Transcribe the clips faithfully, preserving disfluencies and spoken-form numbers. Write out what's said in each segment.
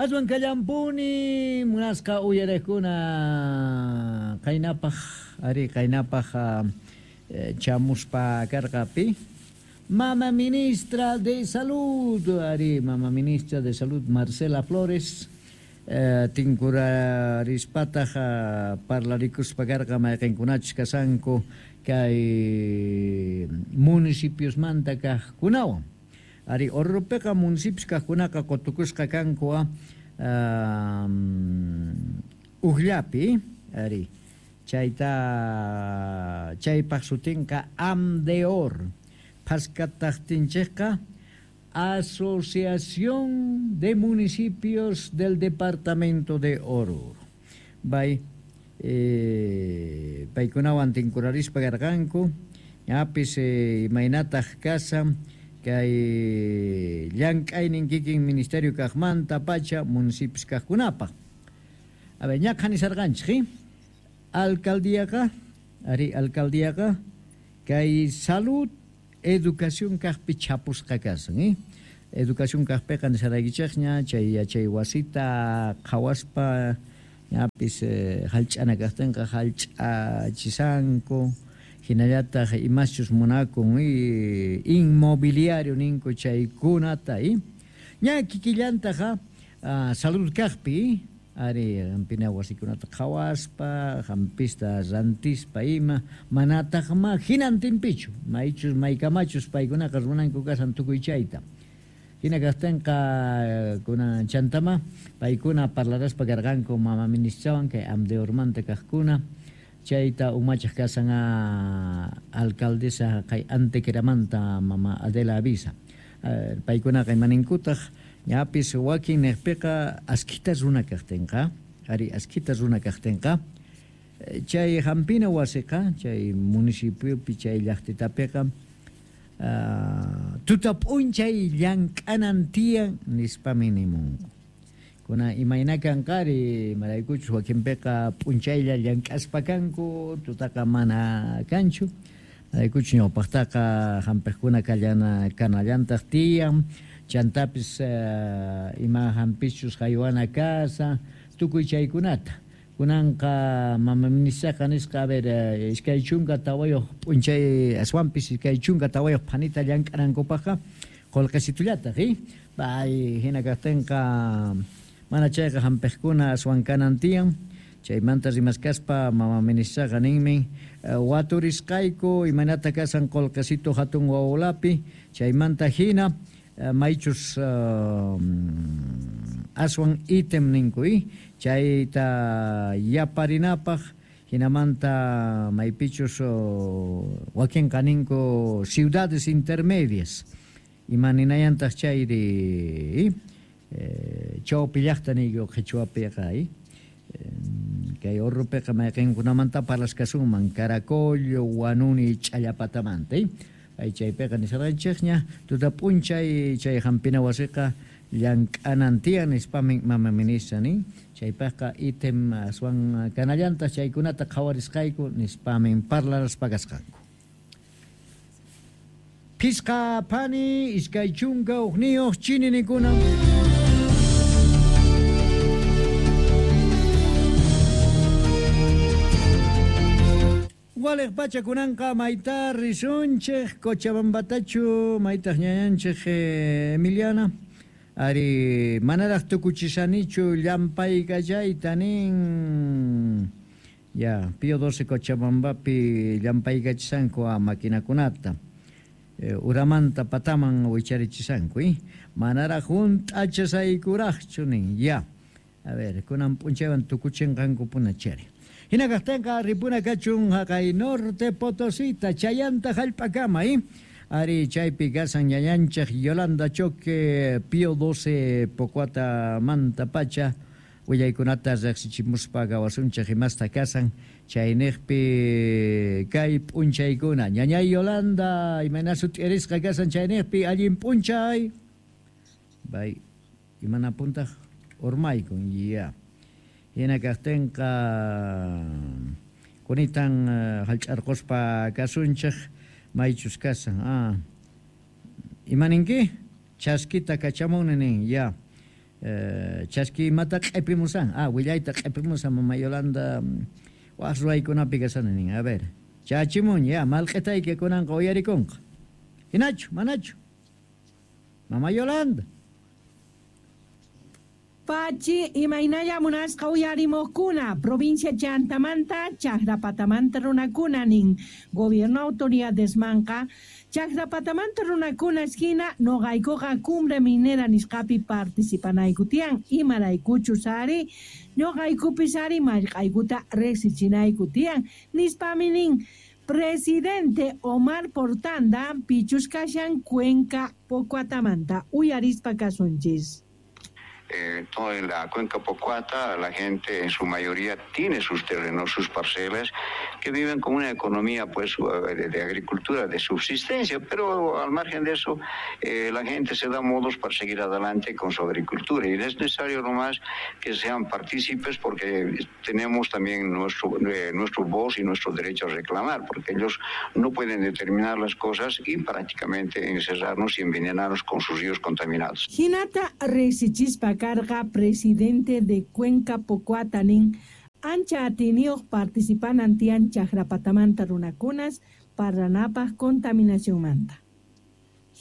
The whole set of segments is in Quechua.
Aswan kallampuni munasqa uyariqkuna qaynapaq ari qaynapaq chamuspa karqapi Mama Ministra de Salud, ari Mama Ministra de Salud Marcela Flores eh, tinkurarispataq parlarikuspa karqa mayqinkunachus kasanku kay municipiosmanta kaqkunawan. Ari Oruropiqa municipios kaqkunaqa qutukusqa kanku um, ujllapi, ari chayta chaypaq sutinqa AMDEOR, phaskataqtinchikqa Asociación de Municipios del Departamento de Oruro. Bay eh, paykunawan tinkurarispa karqanku, ñapis eh, imaynataq kasan kay llank'aynin kikin ministerio kaqmanta pacha municipios kaqkunapaq. A ver, ña qhanisarqanchik, alcaldíaqa, ari alcaldíaqa kay salud educación kaqpi chapusqa kasan, eh? Educación kaqpiqa nisaraykichikña chay yachay wasita qhawaspa ñapis eh, hallch'ana kaqtinqa hallch'achisanku, hinallataq imaschus munakun y inmobiliario ninku chaykunata, eh? Ña kikillantaqa uh, salud kaqpi ari hampina wasikunata qhawaspa hampista rantispa ima manataqma hinantinpichu maychus maykamachus paykunaqa runanku kasan tukuy chayta. Hina kaqtinqa kuna chantama paykuna parlaraspa karqanku mama ministrawan kay AMDEORmanta kaqkuna chayta umachaq kasan alcaldesa kay Antequeramanta mama Adela Avisa. Paykunaqa imaninkutaq ñapis wakin niqpiqa askita runa kaqtinqa, ari askita runa kaqtinqa chay hampina wasiqa chay municipiopi chay llaqtitapiqa uh, tuta p'unchay llank'anan tiyan nispami nimunku. Kuna imayna kanqari imaraykuchus wakinpiqa p'unchaylla llank'aspa kanku tutaqa mana kanchu. Maraykuchus ñawpaqtaqa hampiqkuna kallana kanallantaq tiyan chantapis uh, ima hampichus haywana kasa tukuy chaykunata. Kunanqa mama ministraqa nisqa a ver iskay chunka tawayuq p'unchay aswanpis iskay chunka tawayuq phanita llank'anankupaqqa qullqisitullataq, eh? Bay hina kaqtinqa mana chayqa hampiqkuna aswan kanan tiyan. Chaymanta rimaskaspa mama ministraqa ninmi waturisqayku imaynata kasan qullqisitu hatun wawlapi chaymanta hina maychus uh, aswan ítem ninku, eh? Chayta yaparinapaq hinamanta maypichus uh, wakinqa ninku ciudades intermedias imaninayantaq chayri eh, chawpi llaqta niyku qhichwapiqa, eh? Kay Oruropiqa mayqinkunamanta parlaskasunman Caracollo, Huanuni, Ch'allapatamanta, eh? Ay chaypiqa nisarqanchikña tuta p'unchay chay hampina wasiqa llank'anan tiyan nispami mama ministra nin chaypaqqa ítem aswan kanallantaq chaykunata qhawarisqayku nispamin parlaraspa kasqanku. Phisqa phani iskay chunka hukniyuq chininikuna. Waliq pacha kunanqa mayta risunchik Cochabambatachu maytaq ñañanchik Emiliana ari manaraq tukuchisanichu llampaykachayta nin ya Pío doce Cochabambapi llampaykachisanku a maquinakunata eh, uramanta pataman wicharichisanku, eh? Manaraq hunt'achasaykuraqchu nin ya a ver kunan p'unchaywan tukuchinqankupuna chari. Hina kaqtinqa ripuna kachun haqay norte Potosita chayanta hallp'akama, eh? Ari chaypi kasan ñañanchik Yolanda Choque Pío doce Pocuata manta pacha willaykunata riqsichimuspa gawasunchik imasta kasan chayniqpi kay p'unchaykuna. Ñañay Yolanda imayna sut'irisqa kasan chayniqpi allin p'unchay bay imana puntaq urmaykun ya. Hina kaqtinqa kunitan hallch'arquspa kasunchik maychus kasan. Ah. Imaninki? Chaskita kachamuni nin ya. Eh, chaski imata q'ipimusan. Ah, willayta q'ipimusan mama Yolanda waq ruwaykunapi kasani nin. A ver, chachimun ya malq'itayki kunanqa uyarikunqa. Hinachu, manachu? Mama Yolanda. Pachi, imaynalla munasqa uyarimuqkuna, provincia Chantamanta, Chaqrapatamanta runakuna nin, gobierno autoridadesmanqa, Chaqrapatamanta runakuna esquina, noqaykuqa cumbre minera nisqapi participanayku tiyan, imaraykuchus ari, ñuqaykupis ari mallq'aykuta riqsichinayku tiyan, nispami nin, presidente Omar Portanda, pichus kashan Cuenca Pocuatamanta, uyarispa kasunchis. Eh, toda en la cuenca Pocuata, la gente en su mayoría tiene sus terrenos, sus parcelas, que viven con una economía pues de, de agricultura, de subsistencia, pero al margen de eso, eh, la gente se da modos para seguir adelante con su agricultura y es necesario nomás que sean partícipes porque tenemos también nuestro, eh, nuestro voz y nuestro derecho a reclamar, porque ellos no pueden determinar las cosas y prácticamente encerrarnos y envenenarnos con sus ríos contaminados. Hinata riqsichispa carga presidente de Cuenca Pocuata nin ancha atiniyuq participanan tiyan Chaqrapatamanta runakunas parlanapaq contaminacionmanta.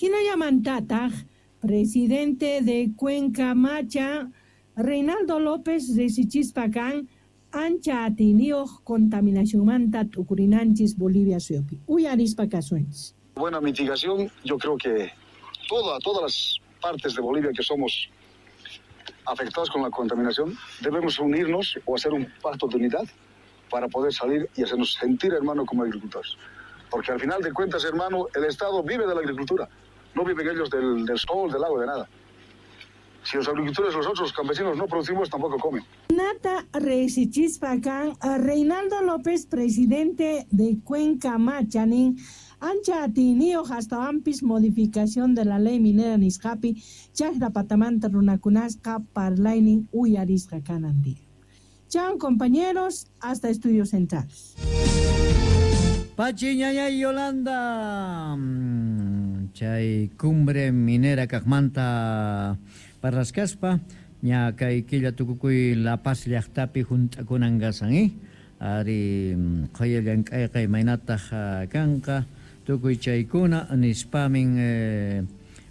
Hinallamantataq presidente de Cuenca Macha Reinaldo López riqsichispa kan ancha atiniyuq contaminacionmanta t'ukurinanchis Bolivia suyupi. Uyarispa kasunchis. Buena mitigación, yo creo que toda, todas las partes de Bolivia que somos afectados con la contaminación, debemos unirnos o hacer un pacto de unidad para poder salir y hacernos sentir, hermano, como agricultores. Porque al final de cuentas, hermano, el Estado vive de la agricultura, no viven ellos del, del sol, del agua, de nada. Si los agricultores, nosotros, los campesinos, no producimos, tampoco comen. Nata riqsichispa kan Reinaldo López, presidente de Cuenca Macha nin, ancha atiniyuq astawanpis modificación de la ley minera nisqapi Chaqrapatamanta runakunasqa parlaynin uyarisqa kanan día. Chao compañeros, hasta Estudios Centrales. Pachi ñañay Yolanda, chay cumbre minera kaqmanta parlasqaspa ña kay killa tukukuy La Paz llaqtapi hunt'akunan kasan, eh? Ari qhaya llank'ayqa imaynataq kanqa tukuy chaykuna nispamin eh,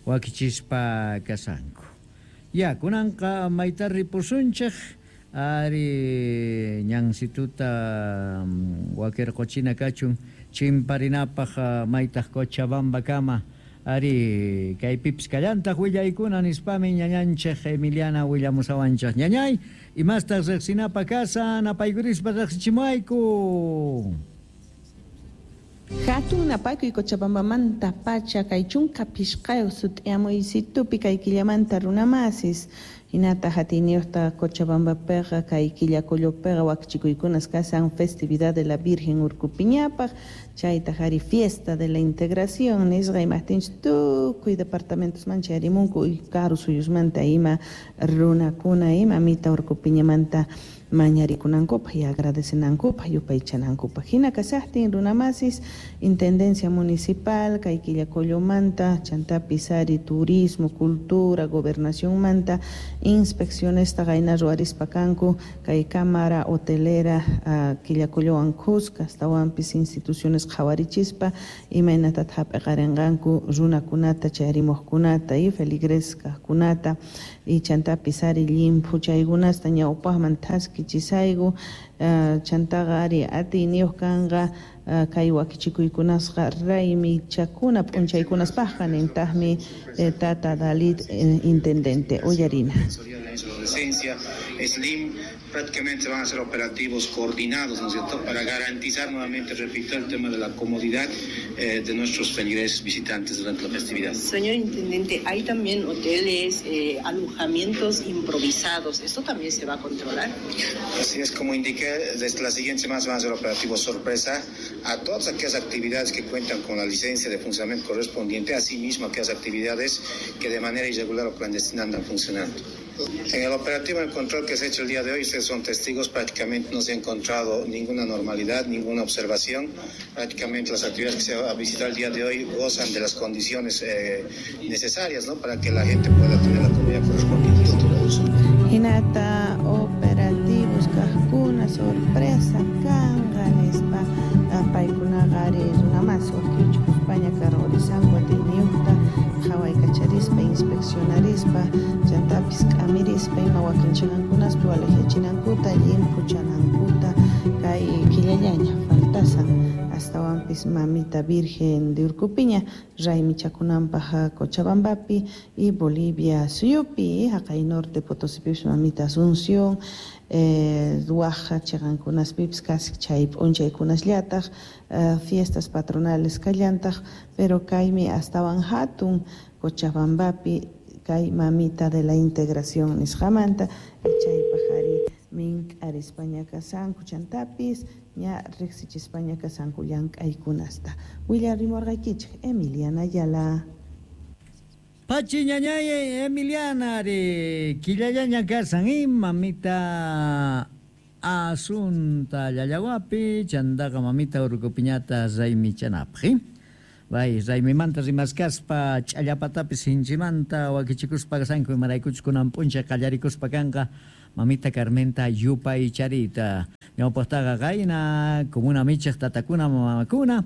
wakichispa kasanku. Ya kunanqa mayta ripusunchik ari ñansituta wakirquchina kachun chimparinapaq maytaq Cochabamba kama ari kaypipis kallantaq willaykuna nispami ñañanchik Emiliana willamusawanchik. Ñañay, imastaq riqsinapa kasan apaykurispa riqsichimuayku. Hatun napaykuy Cochabambamanta pacha kay chunka pishqayuq sut'iyamuysitupi kay killamanta runamasis hinata hatiniyuqta Cochabambapiqa kay Quillacollopiqa wakichikuykunas kasan festividad de la Virgen Urcupiñapaq chaytaq ari fiesta de la integración nisqa imaqtinchik tukuy departamentosman chayarimunku karu suyusmanta ima runakuna ima mita Urcupiñamanta mañarikunankupaq y agradecenankupaq yupaychanankupaq. Hina kasaqtin runamasis intendencia municipal kay Quillacollomanta chantapis ari turismo, cultura, gobernacionmanta inspeccionesta qayna ruwarispa kanku kay cámara hotelera uh, Quillacollowan kuska astawanpis instituciones qhawarichispa imaynatata hap'iqarinqanku runakunata chayarimuqkunata y feligres kaqkunata y chantapis ari llimphu chaykunasta ñawpaqman thaski chisayku uh, chantaqa ari atiyniyuq kanqa uh, kay wakichikuykunasqa raymichakuna p'unchaykunaspaqqa nintaqmi eh, tata Dalit eh, intendente uyarina. Slim, prácticamente van a ser operativos coordinados, ¿no es cierto?, para garantizar nuevamente, repito, el tema de la comodidad eh, de nuestros feligreses visitantes durante la festividad. Señor Intendente, hay también hoteles, eh, alojamientos improvisados, ¿esto también se va a controlar? Así es, como indiqué, desde la siguiente semana se van a hacer operativos sorpresa a todas aquellas actividades que cuentan con la licencia de funcionamiento correspondiente, asimismo aquellas actividades que de manera irregular o clandestina andan funcionando. En el operativo, en el control que se ha hecho el día de hoy, ustedes son testigos, prácticamente no se ha encontrado ninguna anormalidad, ninguna observación. Prácticamente las actividades que se va a visitar el día de hoy gozan de las condiciones eh, necesarias, ¿no?, para que la gente pueda tener la comida correspondiente. Hinata operativos kaqkuna sorpresa kanqa nispa paykunaqa ari runamasi wakichikuspaña karqurisanku atiyniyuqta qhawaykacharispa inspeccionarispa chantapis k'amirispa ima wakinchiqankunaspi walejyachinankuta llimphuchanankuta kay killallaña faltasan astawanpis mamita Virgen de Urcupiña raymichakunanpaq Cochabambapi y Bolivia suyupi haqay norte Potosipipis mamita Asunción eh, waj chiqankunaspipis casi chay p'unchaykunasllataq eh, fiestas patronales kallantaq pero kaymi astawan hatun Cochabambapi kay mamita de la integración nisqamanta chaypaq ari mink'arispaña kasanku chantapis ña riqsichispaña kasanku llank'aykunasta willarimurqaykichik Emiliana Ayala. Pachi ñañay Emiliana ari killallaña kasan y mamita Asunta llallawapi chantaqa mamita Urcupiñata raymichanapaq. Bay raymimanta rimaskaspa ch'allapatapis sinchimanta wakichikuspa kasanku imaraykuchus kunan p'unchay qallarikuspa kanqa mamita Carmenta yupaycharita ñawpaqtaqa qayna comuna michaq tatakuna mamakuna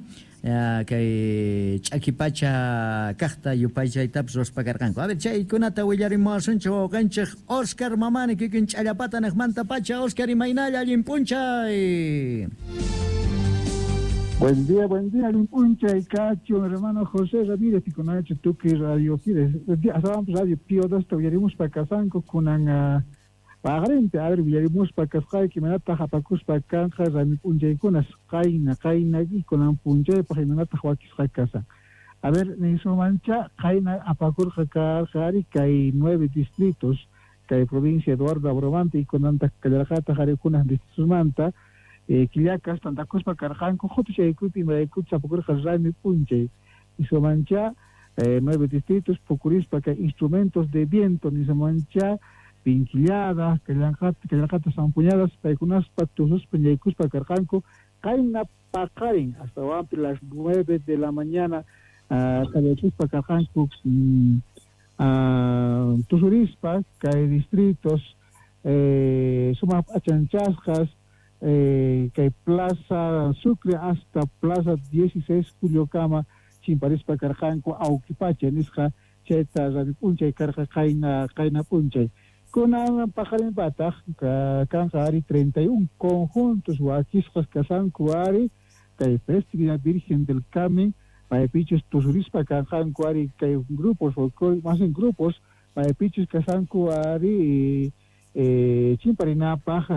kay ch'akipacha kaqta yupaychaytapis ruwaspa karqanku. A ver chaykunata willarimuwasunchik wawqanchik Oscar Mamani kikin ch'allapata niqmanta pacha. Oscar imaynalla allin p'unchay. Buen día, buen día, allin p'unchay kachu, hermano José Ramírez, pikunachu tukuy radio Fides, Radio Pío dosta willarimuspa kasanku kunan paqarinpi, a ver willarimuspa kasqayki imanataq apakuspa kanqa raymi p'unchaykunas qayna qayna y kunan p'unchaypaq imanataq wakisqa kasan. A ver, nisumancha qayna apakurqa karqa ari kay nueve distritos kay provincia Eduardo Abromante y kunantaq kallarqataq ari kunan distritosmanta eh, killakas tantakuspa karqanku qutuchaykupi imaraykuchus apakurqa raymi p'unchay nisumancha eh, nueve distritos pukurispa kay instrumentos de viento nisumancha pinquilladas, kallanqata zampuñadas, paykunaspa tususpa ñaykuspa karqanku qayna paqarin hasta wampi las nueve de la mañana qallaykuspa karqanku tusurispa kay distritos eh, sumaq p'achanchasqas eh, kay Plaza Sucre hasta Plaza dieciséis Juliokama chimparispa karqanku awkipacha nisqa chayta raymi p'unchay karqa qayna qayna p'unchay. Kunan paqarinpataq kanqa ari treinta y un conjuntos wakisqas kasanku ari kay Festividad Virgen del Carmen paypichus tusurispa kanqanku ari kay grupos más en grupos paypichus kasanku ari eh, chimparinapaq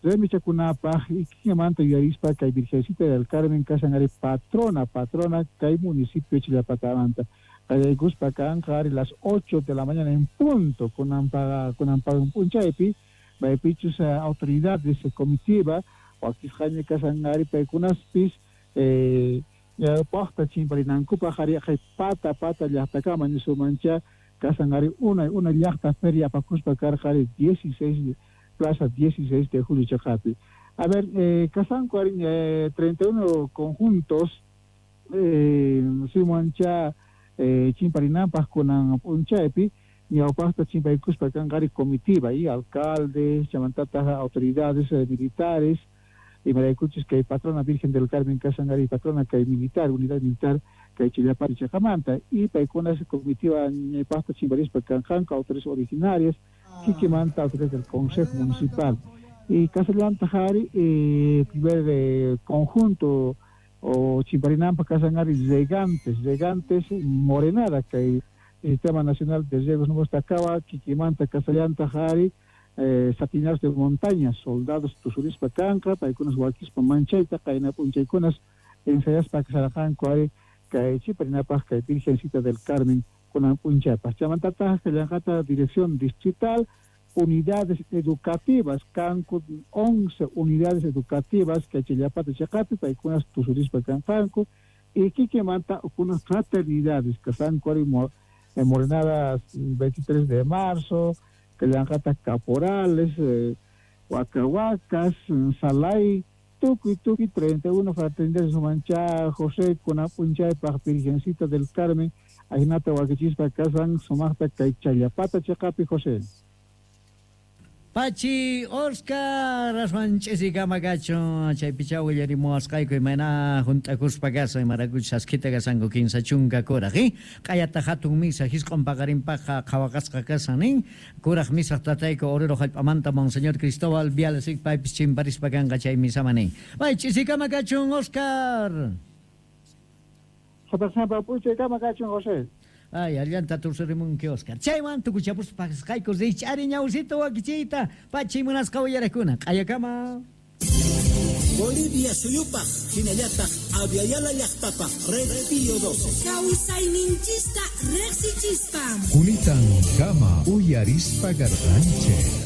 raymichakunapaq y kikinmanta yuyarispa kay Virgencita del Carmen kasan ari patrona patrona kay municipio Chillapatamanta. Qallaykuspa kanqa ari las ocho de la mañana en punto kunan kunan p'unchaypi maypichus autoridades comitiva wakisqaña kasan ari paykunaspis eh, paqta chimparinankupaq ari qay pata pata llaqtakama nisumancha kasan ari unay una llaqta feria apakuspa karqa ari dieciséis Plaza dieciséis de Julio chaqapi. A ver, eh, kasanku ari eh, treinta y uno conjuntos eh, simancha Eh, chimparinampas kunan p'unchaypi ñawpaqta chimpaykuspa kanqa ari comitiva y alcaldes chamantataq autoridades eh, militares imaraykuchus kay patrona Virgen del Carmen kasan ari patrona kay militar unidad militar kay Chillapari chaqamanta y paykunas comitiva ñawpaqta chimparispa kanqanku autoridades originarias kikimanta autoridades del Consejo Municipal y kasallantaq ari eh, primer eh, conjunto o chimparinampa kasan ari regantes, regantes morenada kay Sistema Nacional de Riegos no acaba kikimanta kasallanta ari eh, satinaros de montaña, soldados tusurispa kanqa, paykunas wakispa manchayta, qayna p'unchaykunas ensayaspa kasarqanku ari kay chimparinapaq kay Virgencita del Carmen kunan p'unchaypaq. Chamantataq kallanqata dirección distrital unidades educativas, kanku once unidades educativas que Chillapata chaqapi paykunas tusurispa kanqanku y kikimanta unas fraternidades kasanku ari morenadas veintitrés de marzo, kallanqata caporales, eh, huacahuacas, Salay, tukuy tukuy treinta y uno fraternidades sumancha José kunan p'unchaypaq Virgencita del Carmen ajinata wakichispa kasan sumaqta kay Challapata chaqapi José. Pachi Oscar aswan ch'isikama kachun chaypichá willarimuwasqayku imayna hunt'akuspa kasan imarakuchus askita kasanku kinsa chunka kuraq eh? Q'ayata hatun misa hisq'un paqarinpaqqa qhawaqasqa kasan nin kuraq misaq tatayku Oruro hallp'amanta Monseñor Cristóbal Viales paypis chimparispa kanqa chay misaman nin. Bay ch'isikama kachun Oscar. P'unchaykama kachun José. Ay, allanta tusurimunki Oscar. Chaywan tukuchapuspa pasqayku rich'ari ñawsito wakichiyta pachi munasqa uyarakuna. Q'ayakama. Bolivia suyupaq hinallataq Aviala llaqtapaq Red Pío doce. Kawsayninchista riqsichispa. Kunitan kama uyarispa garqanchik.